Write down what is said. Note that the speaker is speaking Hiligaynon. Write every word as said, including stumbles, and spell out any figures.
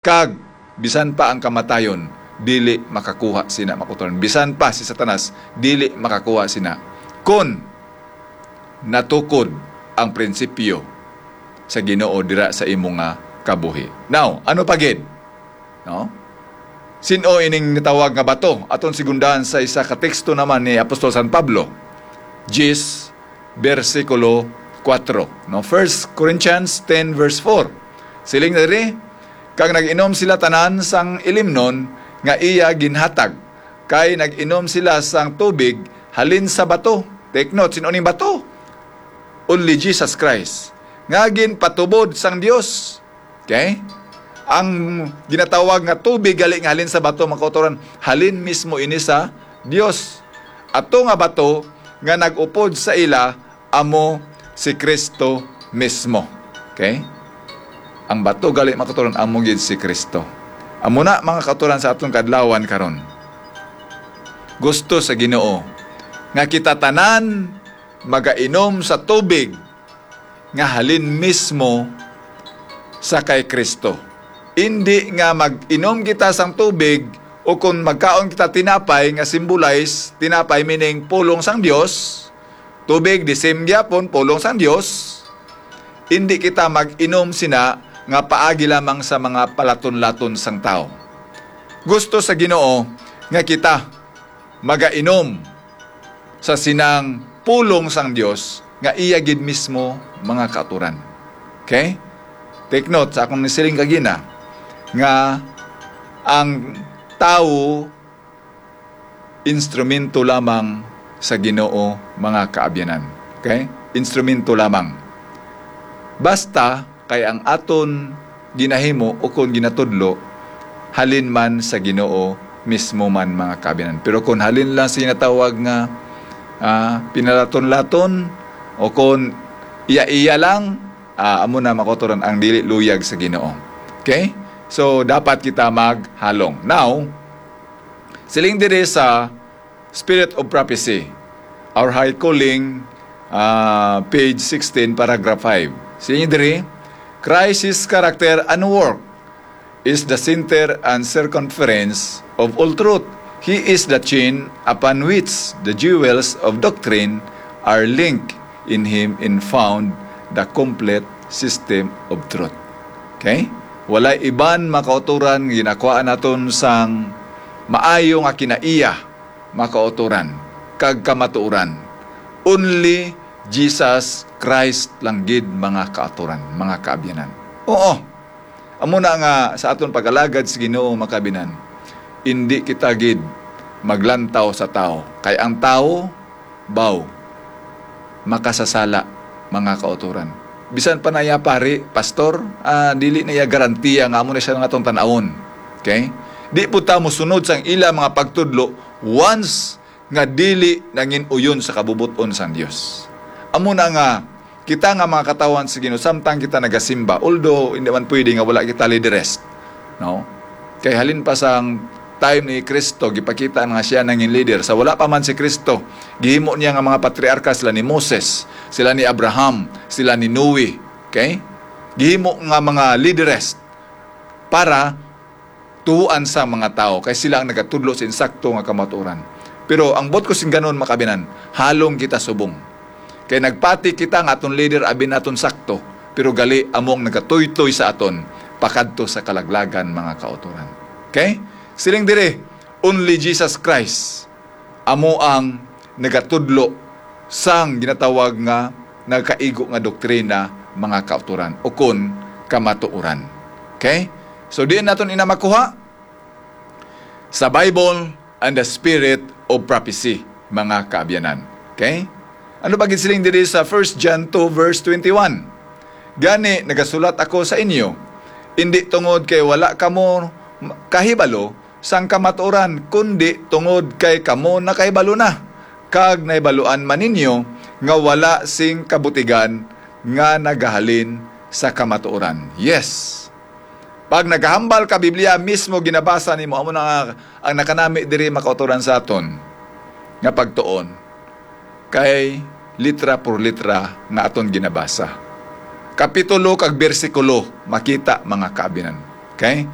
Kag bisan pa ang kamatayon dili makakuha sina, mga kautoran. Bisan pa si Satanas dili makakuha sina, kon natukod ang prinsipyo sa Ginoo dira sa imo nga kabuhi. Now, ano pa gid? No? Sin-o ining natawag nga bato? Aton sigundahan sa isa ka teksto naman ni Apostol San Pablo, diyes, bersikulo kuwatro, no? First Corinthians ten verse four. Siling diri, "Kag nag-inom sila tanan sang ilimnon nga iya ginhatag, kay nag-inom sila sang tubig halin sa bato." Take note, sin-o ning bato? Only Jesus Christ, nga ginpatubod sang Dios. Okay? Ang ginatawag nga tubig gali nga halin sa bato, mga kautoran, halin mismo ini sa Dios. Ato nga bato nga nag-upod sa ila amo si Cristo mismo. Okay? Ang bato gali, mga kautoran, amo gid si Cristo. Amo na, mga kautoran, sa aton kadlawan karon. Gusto sa Ginoo nga kita tanan magainom sa tubig nga halin mismo sa kay Cristo. Indi nga mag-inom kita sang tubig o kon magkaon kita tinapay nga symbolize, tinapay meaning pulong sang Dios, tubig the same gyapon, pulong sang Dios. Indi kita mag-inom sina nga paagi lamang sa mga palaton-laton sang tawo. Gusto sa Ginoo nga kita magainom sa sinang pulong sang Dios nga iya gid mismo, mga kautoran. Okay? Take note sa akong nisiling kagina nga ang tawo instrumento lamang sa Ginoo, mga kaabyanan. Okay? Instrumento lamang. Basta kay ang aton ginahimo ukon ginatudlo halin man sa Ginoo mismo man, mga kaabyanan. Pero kung halin lang sa ginatawag nga, ah, pinalaton-laton o kung iya-iya lang, ah, amo na, mga kautoran, ang dili luyag sa Ginoo. Okay? So, dapat kita maghalong. Now, siling diri sa Spirit of Prophecy, Our High Calling, ah, page sixteen, paragraph five. Siling diri, "Christ, his character and work is the center and circumference of all truth. He is the chain upon which the jewels of doctrine are linked. In him and found the complete system of truth." Okay? Walay iban, mga kautoran, nga ginakuha naton sang maayo nga kinaiya, mga kautoran, kag kamatuoran. Only Jesus Christ lang gid, mga kautoran, mga kaabyanan. Oo. Amo na nga sa aton pag-alagad sa Ginoo, mga kaabyanan, indi kita gid maglantaw sa tawo. Kay ang tawo, baw, makasasala, mga kautoran. Bisan pa na iya pari, pastor, ah, dili na iya garantiya nga amo na siya nga atong tan-awon. Okay? Di po ta mosunod sang ila mga pagtudlo once nga dili nangin-uyon sa kabubot-on sang Dios. Amo na nga, kita nga mga katawhan sa Ginoo, samtang kita nagasimba, although hindi man pwede nga wala kita lideres, no? Kay halin pa sang time ni Cristo, gipakita na nga siya nangin leader. Sa wala pa man si Cristo, gihimo niya nga mga patriarka, sila ni Moses, sila ni Abraham, sila ni Noe. Okay? Gihimo nga mga leaderess para tuohan sa mga tawo, kay sila ang nagatudlo sa insakto nga kamatuoran. Pero ang buot ko singganon, mga kaabyanan, halong kita subong. Kay nagpati kita nga aton leader abi naton sakto, pero gali amo ang nagatuytoy sa aton pakadto sa kalaglagan, mga kautoran. Okay? Siling diri, only Jesus Christ amo ang nagatudlo sang ginatawag nga nagakaigo nga doktrina, mga kautoran, ukon kamatuoran. Okay? So, diin naton ina makuha? Sa Bible and the spirit of prophecy, mga kaabyanan. Okay? Ano ba gid siling diri sa First John two verse twenty-one? "Gani, nagasulat ako sa inyo, indi tungod kay wala kamo kahibalo sang kamatuoran, kundi tungod kay kamo nakahibalo na, kag nahibaluan man ninyo nga wala sing kabutigan nga nagahalin sa kamatuoran." Yes. Pag nagahambal ka, Biblia mismo ginabasa nimo. Amo na nga ang nakanami diri, mga kautoran, sa aton nga pagtuon kay litra por litra nga aton ginabasa. Kapitulo kag bersikulo makita, mga kaabyanan. Okay?